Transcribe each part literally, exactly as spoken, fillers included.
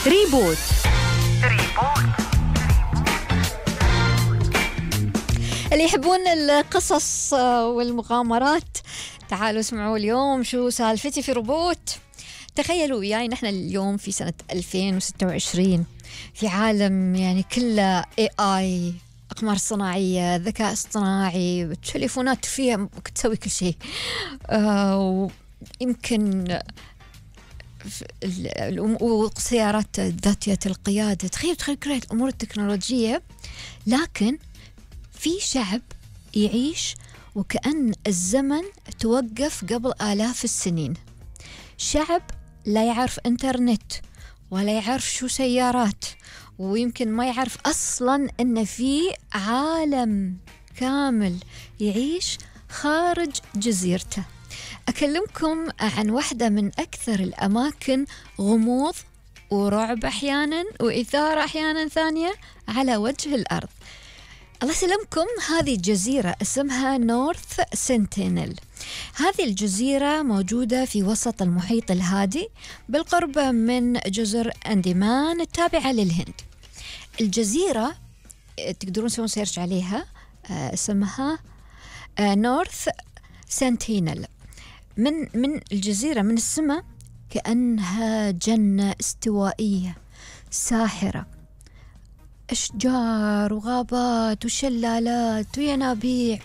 ريبوت. اللي يحبون القصص والمغامرات تعالوا اسمعوا اليوم شو سالفتي في روبوت. تخيلوا وياي نحن اليوم في سنة ألفين وستة وعشرين في عالم يعني كله إيه آي، أقمار صناعية، ذكاء اصطناعي، التليفونات فيها تسوي كل شيء. آه يمكن والسيارات ذاتية القيادة. تخيل تخيل كل الأمور التكنولوجية، لكن في شعب يعيش وكأن الزمن توقف قبل آلاف السنين. شعب لا يعرف إنترنت ولا يعرف شو سيارات، ويمكن ما يعرف أصلاً أن في عالم كامل يعيش خارج جزيرته. أكلمكم عن واحدة من أكثر الأماكن غموض ورعب أحياناً وإثارة أحياناً ثانية على وجه الأرض. الله يسلمكم، هذه الجزيرة اسمها نورث سنتينل. هذه الجزيرة موجودة في وسط المحيط الهادي بالقرب من جزر أنديمان التابعة للهند. الجزيرة تقدرون تسوون سيرش عليها، اسمها نورث سنتينل. من من الجزيرة من السماء كأنها جنة استوائية ساحرة، أشجار وغابات وشلالات وينابيع،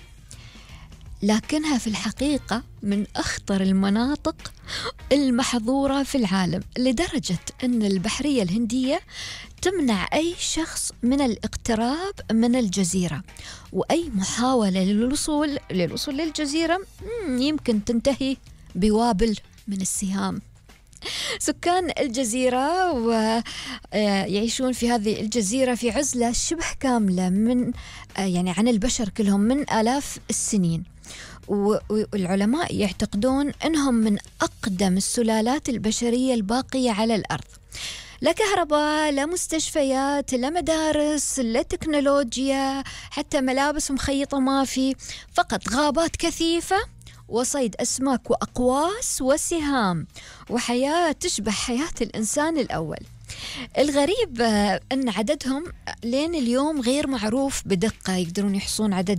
لكنها في الحقيقة من أخطر المناطق المحظورة في العالم، لدرجة أن البحرية الهندية تمنع أي شخص من الاقتراب من الجزيرة، وأي محاولة للوصول للوصول للجزيرة يمكن تنتهي بوابل من السهام. سكان الجزيرة ويعيشون في هذه الجزيرة في عزلة شبه كاملة من يعني عن البشر كلهم من آلاف السنين، والعلماء يعتقدون أنهم من أقدم السلالات البشرية الباقية على الأرض. لا كهرباء، لا مستشفيات، لا مدارس، لا تكنولوجيا، حتى ملابس مخيطة ما في، فقط غابات كثيفة وصيد أسماك وأقواس وسهام، وحياة تشبه حياة الإنسان الأول. الغريب أن عددهم لين اليوم غير معروف بدقة، يقدرون يحصون عدد